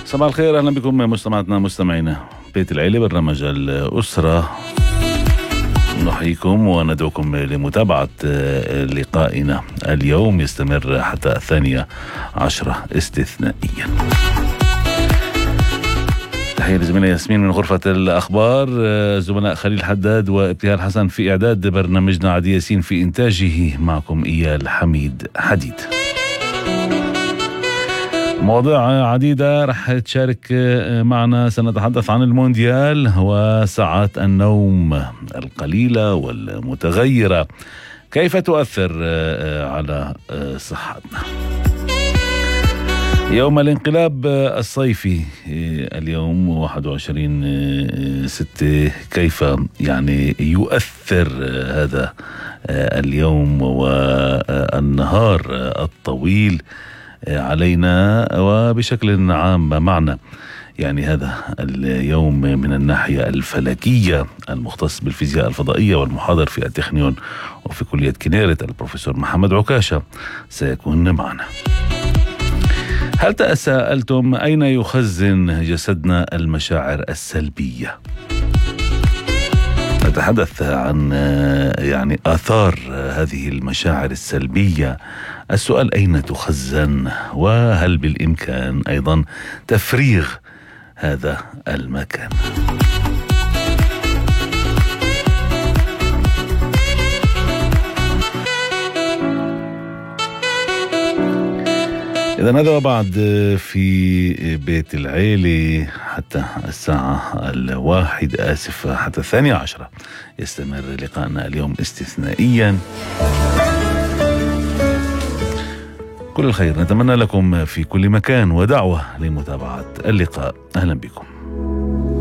صباح الخير، أهلا بكم مستمعاتنا مستمعينا بيت العيلة، برنامج الأسرة. نحييكم وندعوكم لمتابعة لقائنا اليوم، يستمر حتى 12 استثنائيا. تحية لزميلة ياسمين من غرفة الأخبار، زملاء خليل حداد وابتهال حسن في إعداد برنامجنا، عدي ياسين في إنتاجه، معكم إيال حميد حديد. مواضيع عديدة رح تشارك معنا. سنتحدث عن المونديال وساعات النوم القليلة والمتغيرة، كيف تؤثر على صحتنا. يوم الانقلاب الصيفي اليوم 21/6، كيف يعني يؤثر هذا اليوم والنهار الطويل علينا وبشكل عام معنا. يعني هذا اليوم من الناحية الفلكية المختص بالفيزياء الفضائية والمحاضر في التكنيون وفي كلية كنيرة البروفيسور محمد عكاشة سيكون معنا. هل تساءلتم أين يخزن جسدنا المشاعر السلبية؟ نتحدث عن يعني آثار هذه المشاعر السلبية. السؤال أين تخزن، وهل بالإمكان أيضا تفريغ هذا المكان؟ إذن هذا وبعد في بيت العيلة حتى الساعة 1، حتى 12 يستمر لقاءنا اليوم استثنائيا. كل الخير نتمنى لكم في كل مكان، ودعوة لمتابعة اللقاء. أهلا بكم.